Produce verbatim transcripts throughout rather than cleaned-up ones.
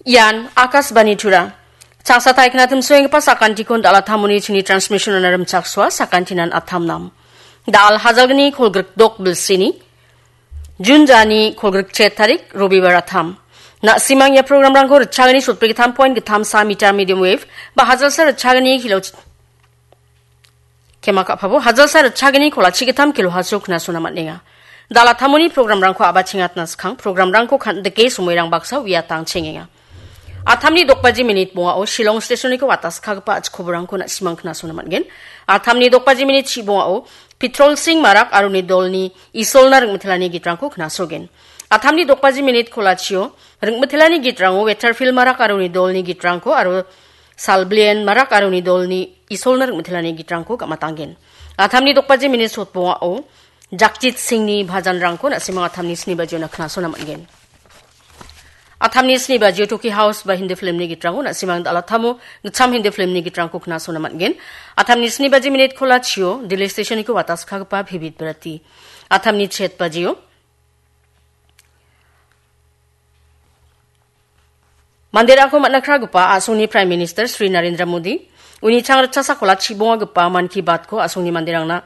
Ian Akashvani Tura. Changsa taikna timsoenggipa sakantikon dal·a tamoni chini transmission-ona rimchaksoa, sakantinan atam nam. Dal hajalgni kolgrik dok bilsini, Jun jani kolgrik chet tarik, Robibar atam. Na·simang ia programrangko ritchagni sotbri gittam point gittam sa meter medium wave, ba hajalsa ritchagni kilo Kema ka·pabo, hajalsa ritchagni kolachi gittam kilohertz-o knasona man·enga. Dal·a tamoni programrangko a·bachengatna skang, programrangko kan·dike somoirang baksa uiatangchengenga. Atamni dokbaji minit bongao Shillong stationiko wataskagipa a·chikoborangko na·simang knasona man·gen. Atamni dokbaji minit chibongao Petrol Singh Marak aro ni dolni Isolna ringmitelani gitrangko knasogen. Atamni dokbaji minit kolachio ringmitelani gitrango Weatherfield Marak aro ni dolni gitrangko aro Salblien Marak aro ni dolni Isolna ringmitelani gitrangko gam·atanggen. Atamni dokbaji minit sotbongao Jakjit Singhni bhajanrangko na·simang atamni sni bajiona knasona man·gen. Atamni sni bajio Toki House ba Hindi filmni gitrango na·simang dal·a tamo gitcham Hindi filmni gitrangko knasona man·gen. Atamni sni baji minit kolachio Delhi stationiko wataskagipa Bibit Bharati. Atamni chet bajio Manderangko man·a kragipa a·songni Prime Minister Shri Narendra Modi, uni chang ritchasa kolachi bongagipa Mann Ki Baat-ko a·songni manderangna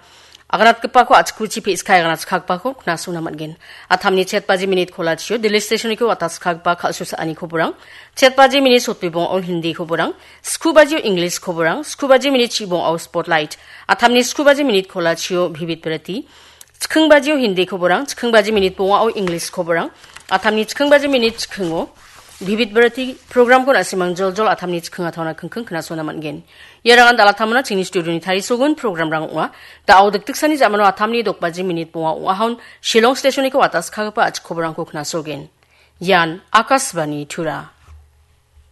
aganatgipako a·chikuchi pe·skai aganatskagipako knasona man·gen. Atamni chet baji minit kolachio Delhi stationiko wataskagipa kal·susaani koborang, chet baji minit sotbi bongao Hindi koborang, sku bajio English koborang, sku baji minit chibongao Spotlight, atamni sku baji minit kolachio Bibit Bharati, Chiking bajio Hindi koborang, chiking baji minit bongao English koborang, atamni chiking baji minit chikingo Bibit Bharati programko na·simang joljol atamni chiking ataona kingking knasona man·gen. Iarangan dal·a tamona chingni studioni tarisogun programrang ong·a. Da·o dikdiksani jamano atamni dokbaji minit bonga ong·ahon Shillong stationiko wataskagipa a·chikoborangko knasogen. Ian Akashvani Tura.